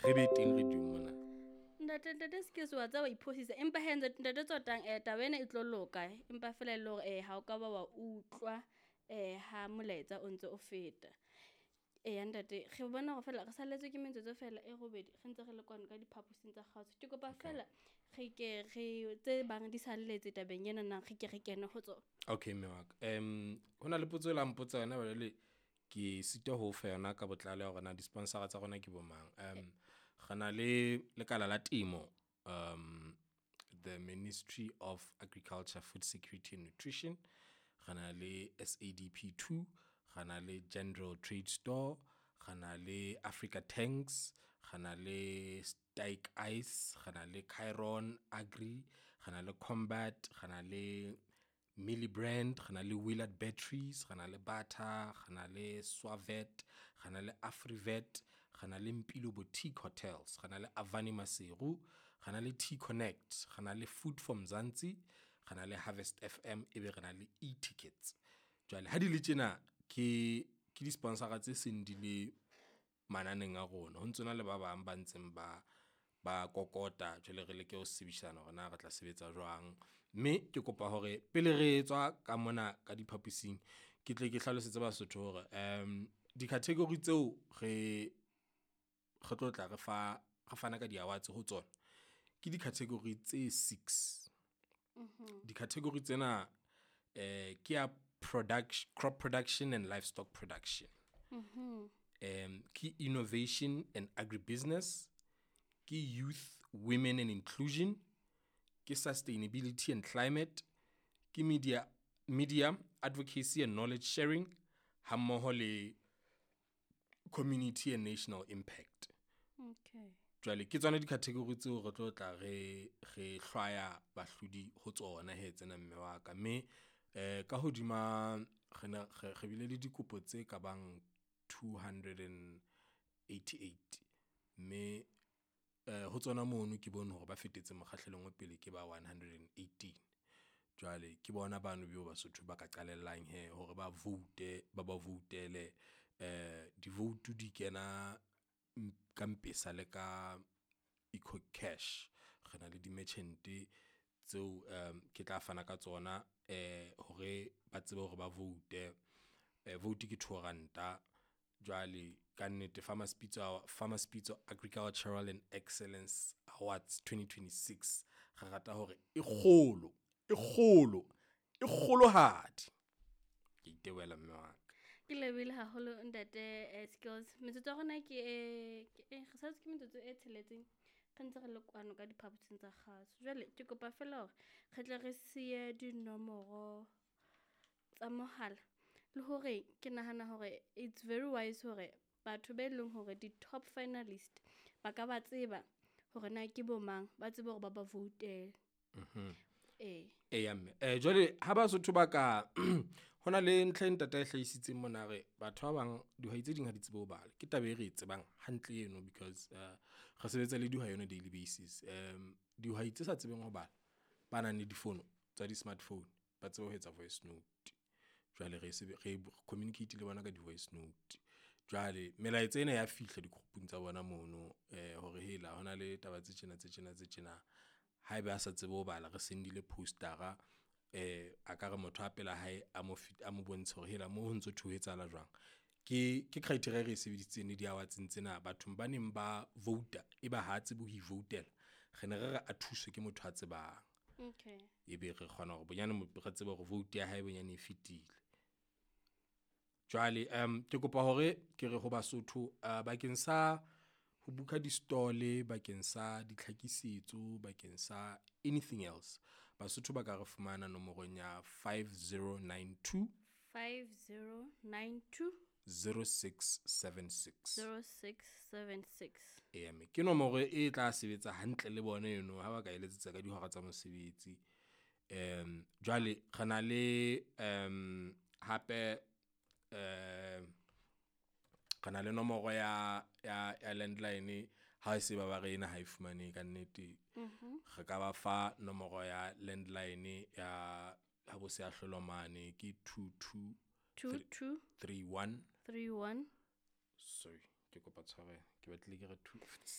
re be teng radiong mona. Ntate Skills, wa tseba wa iphosisa, empa he ntate Tsotang, taba ena e tlo loka, empa fela e le hore ha o ka ba wa utlwa ha molaetsa o ntse o feta. Eya ntate, re bona hore fela re salletswe ke metsotso fela e robedi, re ntse re le kwano ka diphaposing tsa kgaotso. Ke kopa fela re ke re tse bang di salletse tabeng ena na, re ke re kene ho tsona. Okay, mme wa ka. Ho na le potso e la mpotsa yona jwale, ke sitwa ho fa yona ka botlalo ya hore na di-sponsor-a tsa rona ke bo mang. Re na le lekala la temo, the Ministry of Agriculture, Food Security and Nutrition. Re na le SADP 2, re na le General Trade Store, re na le Africa Tanks, re na le Stike Ice, re na le Chiron Agri, re na le Combat, re na le Millibrand, re na le Willard Batteries, re na le Bata, re na le Swavet, re na le Afrivet, re na le Mpilo Boutique Hotels, re na le Avani Maseru, re na le T Connect, re na le Food for Mzansi, re na le Harvest FM, ebe re na le e-tickets. Jwale ha di le tjena ke di-sponsor-a tse seng di le mananeng a rona. Ho ntsona le ba bang ba ntseng ba kokota, jwale re leke ho sebedisana hore na re tla sebetsa jwang. Mme ke kopa hore pele re tswa ka mona ka diphaposing, ke tle ke hlalosetse Basotho hore di-category tseo re tlo tla re fa re fana ka di-awards ho tsona, ke di-category tse six. Di-category tsena ke ya crop production and livestock production. Ke innovation and agribusiness, ke youth, women and inclusion, ke sustainability and climate, ke media advocacy and knowledge sharing, hammoho le community and national impact. Jwale ke tsona di-category tseo re tlo tla re hlwaya bahlodi ho tsona he tsena, mme wa ka. Mme ka hodima re ne re bile le dikopo tse ka bang 288, mme ho tsona mono ke bone hore ba fetetse mokgahlelong wa pele ke ba 118. Jwale ke bona bano beo Basotho ba ka qalellang he hore ba vote, ba voutele. Di-vote di kena ka Mpesa le ka EcoCash. Re na le di-merchant tseo ke tla fana ka tsona hore ba tsebe hore ba vote. Vote ke 2 ranta. Jwale ka nnete Farmers Pitso Agricultural and Excellence Awards 2026, re rata hore e kgolo, e kgolo, e kgolohadi. Ke itebohela, mme wa ka. Ke lebohile haholo, ntate Skills. Metsotso ya rona ke re salletswe ke metsotso e tsheletseng, re ntse re le kwano ka diphaposing tsa kgaso. Jwale ke kopa fela hore re tle re siye dinomoro tsa mohala, le hore ke nahana hore it's very wise hore batho be leng hore di-top finalist ba ka ba tseba hore na ke bo mang, ba tsebe hore ba voutele. Ee. Eya mme, jwale ha Basotho ba ka hona le ntlha e ntate a e hlahisitseng mona re batho ba bang, dihwai tse ding ha di tsebe ho bala. Ke taba e re e tsebang hantle eno because re sebetsa le dihwai on a daily basis. Dihwai tse sa tsebeng ho bala, ba nang le difono tsa di-smartphone, ba tsebe ho etsa voice note. Jwale re se re communicate le bona ka di-voice note. Jwale melaetsa ena ya fihla di-group-ung tsa bona mono, hore hela hona le taba tse tjena, tse tjena, tse tjena. Haeba a sa tsebe ho bala, re sendile poster-a, a ka re motho a pela hae a mo bontshe hore hela mo ho ntso thwe ho etsahala jwang. Ke criteria e re e sebedisitseng le di-awards tsena bathong ba neng ba vouta, eba ha tsebe ho ivoutela, re ne re re a thuswe ke motho a tsebang. Ebe re kgona hore bonyane re tsebe hore vote ya hae bonyane e fetile. Jwale ke kopa hore ke re ho Basotho, bakeng sa ho book-a di-stall, bakeng sa ditlhakisetso, bakeng sa anything else, Basotho ba ka re fumana nomorong ya 5092 5092 0676. 0676. Eya mme, ke nomoro e tla sebetsa hantle le bona eno ha ba ka eletsetsa ka dihora tsa mosebetsi. Jwale re na le hape re na le nomoro ya landline ha e se ba ba re ena ha e fumanehe ka nnete. Re ka ba fa nomoro ya landline ya ha bo seahlolo mane ke 22 22 31 31 Sorry, ke kopa tshwarelo, ke batlile ke re 2.